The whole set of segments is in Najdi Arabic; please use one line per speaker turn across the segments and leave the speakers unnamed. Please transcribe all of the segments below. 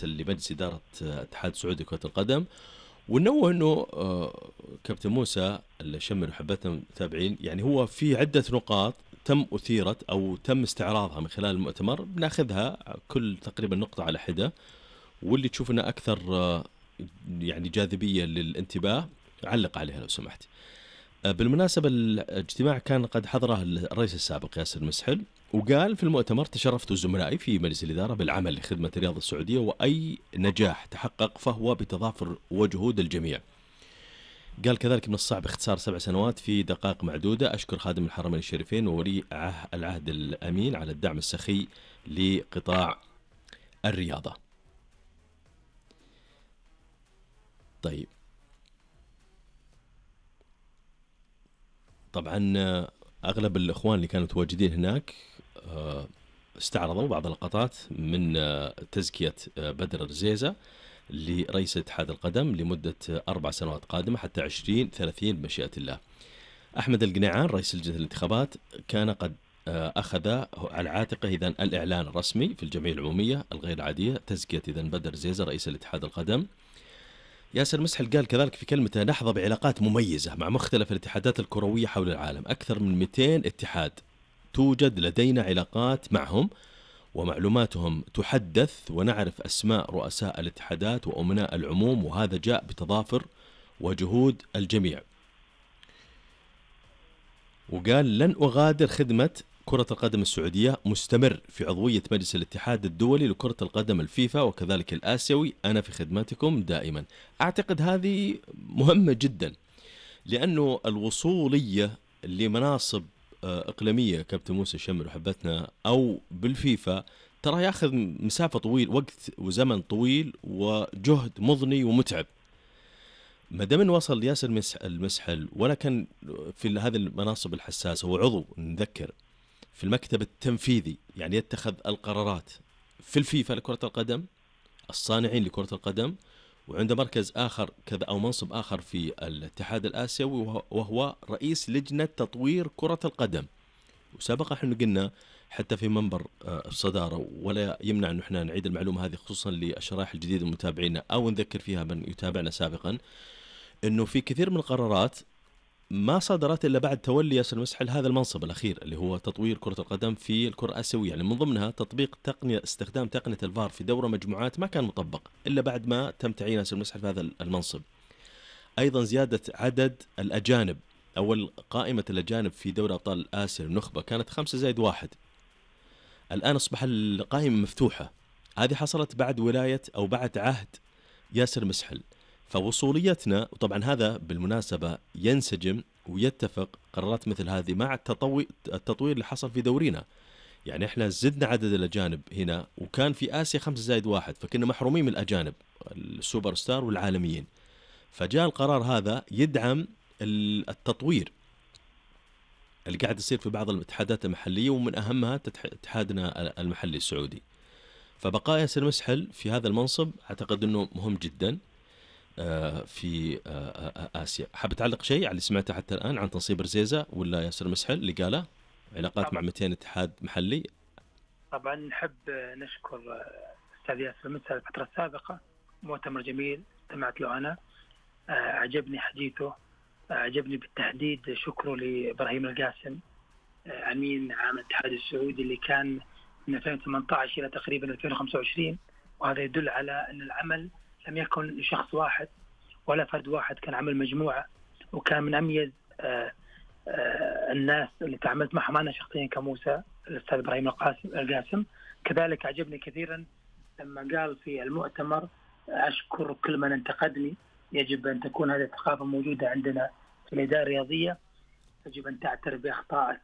لمجلس إدارة اتحاد السعودي لكرة القدم، ونوه أنه كابتن موسى الشمر وحبتنا متابعين، يعني هو في عدة نقاط تم أثيرت أو تم استعراضها من خلال المؤتمر، بناخذها كل تقريبا نقطة على حدة، واللي تشوفنا أكثر يعني جاذبية للانتباه علق عليها لو سمحت. بالمناسبة الاجتماع كان قد حضره الرئيس السابق ياسر مسحل، وقال في المؤتمر: تشرفت زملائي في مجلس الإدارة بالعمل لخدمة الرياضة السعودية، وأي نجاح تحقق فهو بتضافر وجهود الجميع. قال كذلك: من الصعب اختصار 7 سنوات في دقائق معدودة. أشكر خادم الحرمين الشريفين وولي العهد الأمين على الدعم السخي لقطاع الرياضة. طيب، طبعا أغلب الإخوان اللي كانوا متواجدين هناك استعرضوا بعض اللقطات من تزكية بدر الرزيزة لرئيس اتحاد القدم لمدة 4 سنوات قادمة حتى 2030 بمشيئة الله. أحمد القنيعان رئيس لجنة الانتخابات كان قد أخذ على عاتقه إذن الإعلان الرسمي في الجمعية العمومية الغير عادية تزكية إذن بدر الرزيزة رئيس الاتحاد القدم. ياسر مسحل قال كذلك في كلمته: نحظى بعلاقات مميزة مع مختلف الاتحادات الكروية حول العالم، أكثر من 200 اتحاد توجد لدينا علاقات معهم ومعلوماتهم تحدث، ونعرف أسماء رؤساء الاتحادات وأمناء العموم، وهذا جاء بتضافر وجهود الجميع. وقال: لن أغادر خدمة كرة القدم السعودية، مستمر في عضوية مجلس الاتحاد الدولي لكرة القدم الفيفا وكذلك الآسيوي، أنا في خدمتكم دائما. أعتقد هذه مهمة جدا، لأنه الوصولية لمناصب إقليمية كابتن موسى الشمر وحبتنا أو بالفيفا ترى يأخذ مسافة طويل، وقت وزمن طويل وجهد مضني ومتعب. ما دام وصل ياسر المسحل ولا كان في هذه المناصب الحساسة، هو عضو نذكر في المكتب التنفيذي، يعني يتخذ القرارات في الفيفا لكرة القدم، الصانعين لكرة القدم، وعنده مركز آخر كذا أو منصب آخر في الاتحاد الآسيوي وهو رئيس لجنة تطوير كرة القدم. وسابقا احنا قلنا حتى في منبر الصدارة، ولا يمنع أن احنا نعيد المعلومة هذه خصوصا للشرائح الجديدة المتابعين أو نذكر فيها من يتابعنا سابقا، أنه في كثير من القرارات ما صدرت إلا بعد تولي ياسر مسحل هذا المنصب الأخير اللي هو تطوير كرة القدم في الكرة الآسيوية. يعني من ضمنها تطبيق استخدام تقنية الفار في دورة مجموعات ما كان مطبق إلا بعد ما تم تعيين ياسر مسحل في هذا المنصب. أيضا زيادة عدد الأجانب، أول قائمة الأجانب في دوري أبطال آسيا النخبة كانت 5+1، الآن أصبح القائمة مفتوحة. هذه حصلت بعد ولاية أو بعد عهد ياسر مسحل. فوصوليتنا، وطبعا هذا بالمناسبة ينسجم ويتفق قرارات مثل هذه مع التطوير اللي حصل في دورينا. يعني احنا زدنا عدد الأجانب هنا، وكان في آسيا 5+1، فكنا محرومين من الأجانب السوبر ستار والعالميين. فجاء القرار هذا يدعم التطوير اللي قاعد يصير في بعض الاتحادات المحلية، ومن أهمها اتحادنا المحلي السعودي. فبقاء ياسر مسحل في هذا المنصب أعتقد أنه مهم جدا في آسيا. حاب تعلق شيء على اللي سمعته حتى الآن عن تنصيب رزيزة ولا ياسر مسحل اللي قاله علاقات مع 200 اتحاد محلي؟
طبعا نحب نشكر أستاذ ياسر مسحل الفترة السابقة، مؤتمر جميل استمعت له أنا، أعجبني حديثه، أعجبني بالتحديد شكره لإبراهيم القاسم أمين عام الاتحاد السعودي اللي كان من 2018 إلى تقريبا 2025، وهذا يدل على أن العمل لم يكن لشخص واحد ولا فرد واحد، كان عمل مجموعة، وكان من أميز الناس اللي تعاملت معهم أنا شخصيا كموسى الأستاذ إبراهيم القاسم. كذلك أعجبني كثيرا لما قال في المؤتمر: أشكر كل من انتقدني، يجب أن تكون هذه الثقافة موجودة عندنا في الإدارة الرياضية، يجب أن تعترف بأخطائك،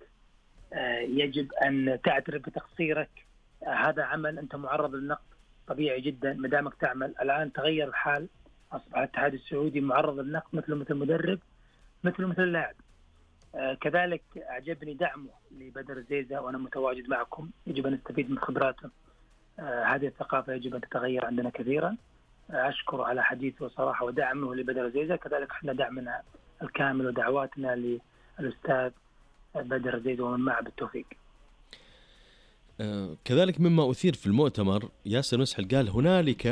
يجب أن تعترف بتقصيرك، هذا عمل أنت معرض للنقد طبيعي جدا ما دامك تعمل. الآن تغير الحال، أصبح الاتحاد السعودي معرض للنقد مثل مدرب مثل اللاعب. كذلك أعجبني دعمه لبدر الرزيزة، وأنا متواجد معكم، يجب أن نستفيد من خبراته. هذه الثقافة يجب أن تتغير عندنا كثيرا. أشكر على حديثه صراحة ودعمه لبدر الرزيزة، كذلك احنا دعمنا الكامل ودعواتنا للأستاذ بدر الرزيزة ومن معه بالتوفيق.
كذلك مما أثير في المؤتمر، ياسر مسحل قال هنالك